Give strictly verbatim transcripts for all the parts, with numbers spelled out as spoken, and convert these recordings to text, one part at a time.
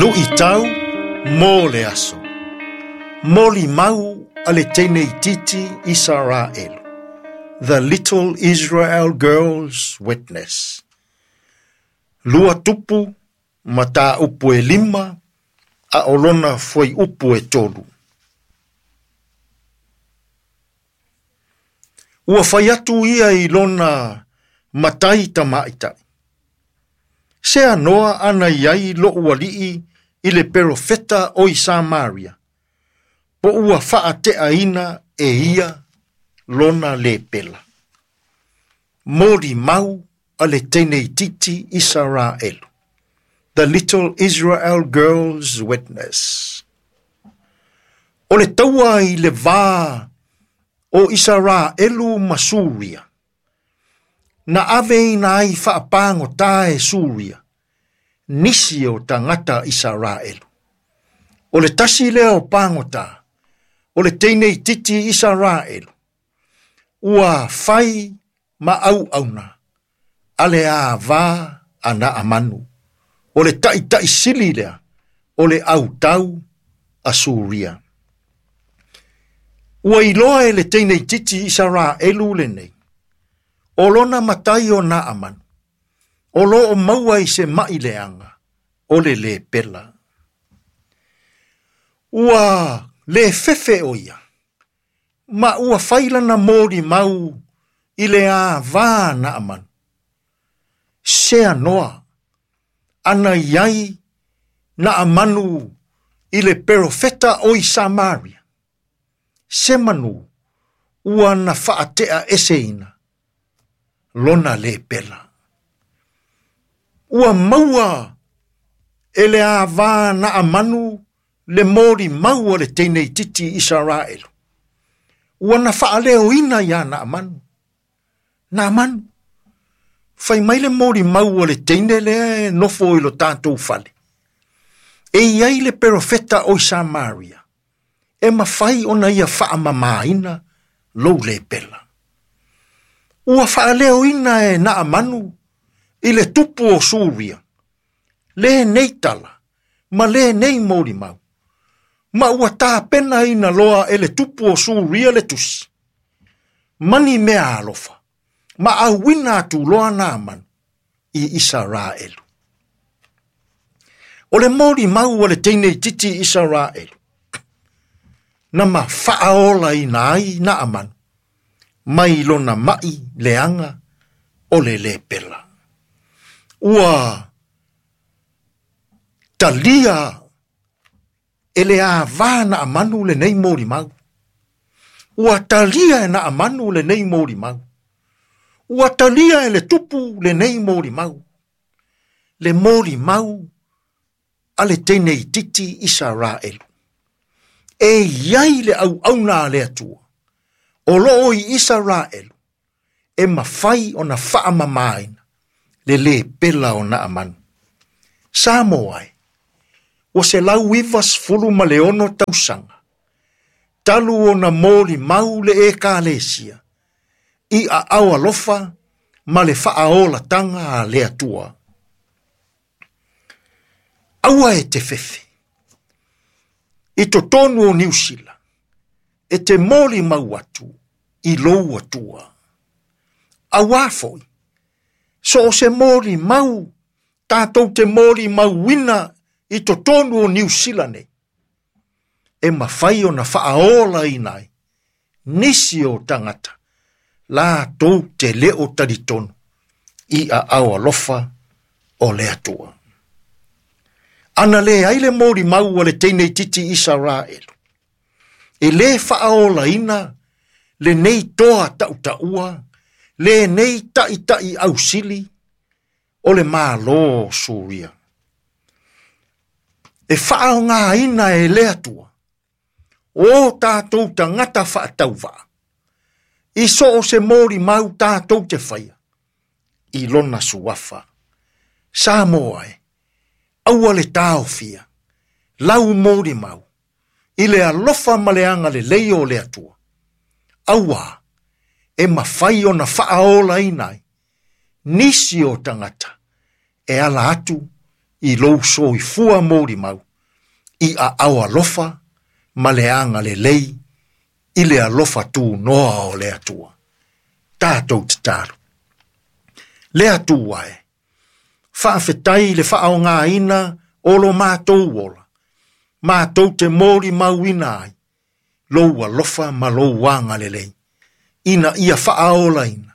Lu'itau mo le aso. Molimau a le teine itiiti Isaraelu. The Little Israel Girl's Witness. Lua tupu mataupu e lima a o lona fuaiupu e tolu. Ua fai atu ia i lona matai tamaitai. Se anoa ana iai lo'u ali'i i le perofeta o i Samaria, po ua faateaina e ia lona lepela. Molimau a le teine itiiti Isaraelu. The Little Israel Girl's Witness. O le taua i le va o Isaraelu ma Suria. Na ave ina ai faapagota e Suria, nisi o tagata Isaraelu. O le tasi lea o pagota, o le teine itiiti Isaraelu, ua fai ma auauna, a le ava a Naamanu. O le taitaisili lea, o le autau a Suria. Ua iloa e le teine itiiti Isaraelu lenei, o lona matai o Naamanu, o lo o maua i se ma'i leaga, o le lepela. Ua le fefe o ia, ma ua fai lana molimau i le ava a Naamanu. Se anoa, ana iai Naamanu i le perofeta o i Samaria. Se manu, ua na faatea eseina, lona lepela. Ua maua e le ava Naamanu le molimau a le teine itiiti Isaraelu. Ua na faaleoina ia Naamanu. Naamanu, fai mai le molimau a le teine lea e nofo i lo tatou fale. E iai le perofeta o i Samaria, e mafai ona ia faamamaina lou lepela. Ua faaleoina e Naamanu i le tupu o Suria, lenei tala, ma lenei molimau. Ma ua tapenaina loa e le tupu o Suria le tusi. Mani mea alofa, ma auina atu loa Naamanu i Isaraelu. O le molimau a le teine itiiti Isaraelu, na ma faaolaina ai Naamanu, mai lona ma'i leaga o le lepela. Ua talia e le ava Naamanu lenei molimau. Ua talia e Naamanu lenei molimau. Ua talia e le tupu lenei molimau. Le molimau a le teine itiiti Isaraelu. E iai le auauna a le Atua, o loo i Isaraelu, e mafai ona faamamaina le lepela o Naamanu. Samoa e, ua selau iva sefulu ma le ono tausaga, talu ona molimau le ekalesia, i aao alofa ma le faaolataga a le Atua. Aua e te fefe, i totonu o Niu Sila, e te molimau atu i lou Atua. Auā foi, so o se molimau, tatou te molimauina i totonu o Niu Sila nei, e mafai ona faaolaina ai nisi o tagata, latou te le o talitonu i aao alofa o le Atua. Ana le ai le molimau a le teine itiiti Isaraelu, e le faaolaina lenei toa tautaua, lenei ta'ita'i ausili o le Malo o Suria. E faaaogāina e le Atua, o tatou tagata faatauvaa, i so o se molimau tatou te faia, i lona suafa. Samoa e, aua le taofia, lau molimau, i le alofa ma le agalelei o le Atua. Auā, e mafai ona faaolaina ai, nisi o tagata, e ala atu I lou soifua molimau i aao alofa ma le agalelei i le alofa tunoa o le Atua. Tatou tatalo. Le Atua e, faafetai le faaaogaina o lo matou ola, matou te molimauina ai lou alofa ma lou agalelei, ina ia faaolaina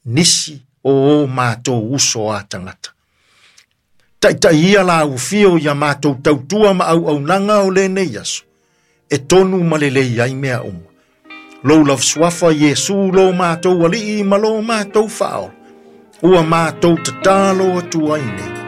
nisi o o matou uso a tagata. Taitai ia la ufio ia matou tautua ma auaunaga o lenei aso, e tonu ma lelei ai mea uma. Lou lava suafa Iesu lo matou alii ma lo matou faaola, ua matou tatalo atu ai nei.